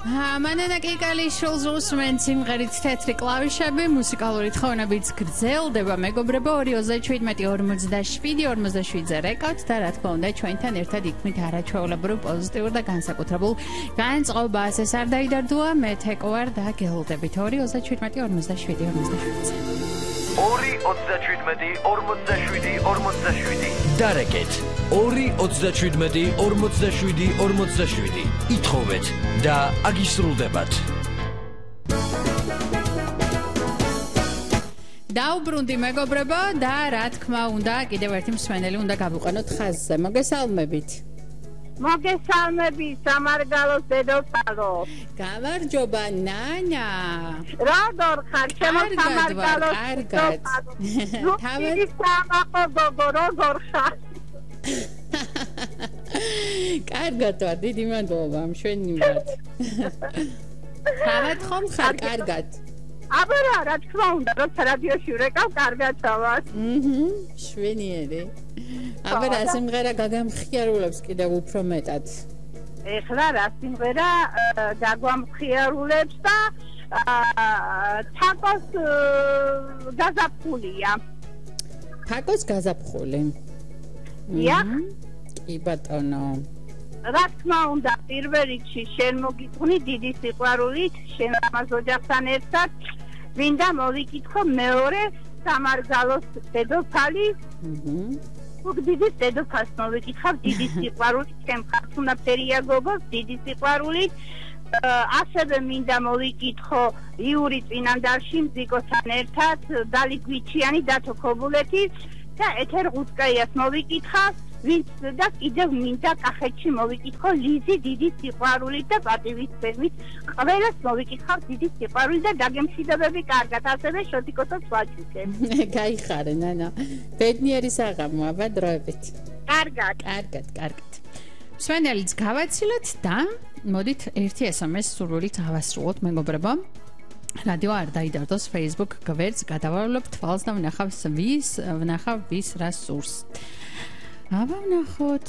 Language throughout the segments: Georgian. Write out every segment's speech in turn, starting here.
მანანა კიკალიშვილს უსმენთ სიმღერით თეთრი კლავიშები, მუსიკალური თხოვნებიც გრძელდება, მეგობრებო, 227-47-47-ზე რეკავთ და რა თქმა უნდა ჩვენთან ერთად იქმით არაჩვეულებრივ პოზიტიურ და განსაკუთრებულ განწყობას. ეს არ დაიდარდოა, მე თეკო ვარ და გელოდებით 227-47-47-ზე. 2-27-47-47 დარეკეთ 2-27-47-47 ითხოვეთ და აგისრულდებათ. დაუბრუნდი მეგობრებო და რა თქმა უნდა კიდევ ერთი მსმენელი უნდა გავუყენოთ ხაზზე. მოგესალმებით. მოგესალმებით სამარგალოს დედოფალო. გამარჯობა ნანა. როგორ ხარ? ჩემო სამარგალოს დედოფალო. თავი სამაყო გოგო როგორ ხარ? კარგად ვარ, დიდი მადლობა მშვენი მიმართ. თავად ხომ ხარ კარგად? აბა რა თქმა უნდა, როცა რადიოში ვრეკავ, კარგად ვარ. შვენიერი. აბა რა სიმღერა გაგამხიარულებს კიდევ უფრო მეტად. ეხლა რა სიმღერა გაგვამხიარულებს და თაკოს გაზაფხულია. თაკოს გაზაფხული. იახ. კი ბატონო. რა თქმა უნდა, პირველ რიგში შენ მოგიტყვნი დიდი სიყვარულით, შენ ამას ოჯახთან ერთად, მინდა მოვიკითხო მეორე სამარგალოს დედოფალი. დიდი დედოფალს მოვიკითხავ დიდი სიყვარულით, ჩემ ხართ უნდა ფერია გოგოს, დიდი სიყვარულით. ასევე მინდა მოვიკითხო იური წინანდალში მზიკოსთან ერთად, დალი გვიჩიანი, დათო ქობულეთის და ეთერ ღუცკაიას მოვიკითხავ. ვინც და კიდევ მინდა კახეთში მოვიკითხო ლიზი დიდი სიყვარულით და პატივისცემით. ყველას მოვიკითხავ დიდი სიყვარულით და დაგემშვიდობები კარგად, ასევე შოტიკოსაც ვაჩუქებ. გაიხარე ნანა. ბედნიერი საღამო, აბა დროებით. კარგად. მსმენელიც გავაცილეთ და მოდით ერთი SMS სურვილით ავასრულოთ მეგობრებო. რადიო არ დაიდარდოს Facebook გვერდს გადავალებ თვალს და ვნახავ ვის რა სურს. აბა ვნახოთ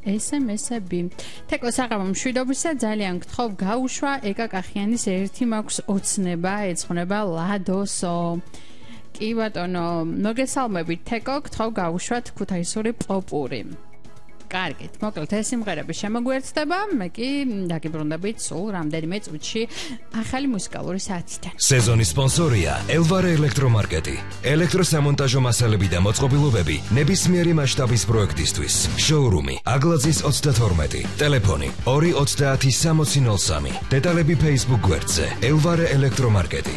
SMS-ები. თეკო საღამო მშვიდობისა, ძალიან გთხოვ გაუშვა ეკა კახიანის ერთი მაქვს ოცნება, ეძღვნება ლადოსო. კი ბატონო, მოგესალმებით თეკო, გთხოვ გაუშვათ ქუთაისური პოპური. კარგით, მოკლედ ეს სიმღერები შემოგვერცდება, მე კი დაგიბრუნდებით სულ რამდენიმე წუთში ახალი მუსიკალური საათიდან. სეზონის სპონსორია ელვარე ელექტრომარკეტი. ელექტროსამონტაჟო მასალები და მოწყობილობები ნებისმიერი მასშტაბის პროექტისთვის. შოურუმი აგლაძის 32, ტელეფონი 290 6003. დეტალები Facebook გვერდზე ელვარე ელექტრომარკეტი.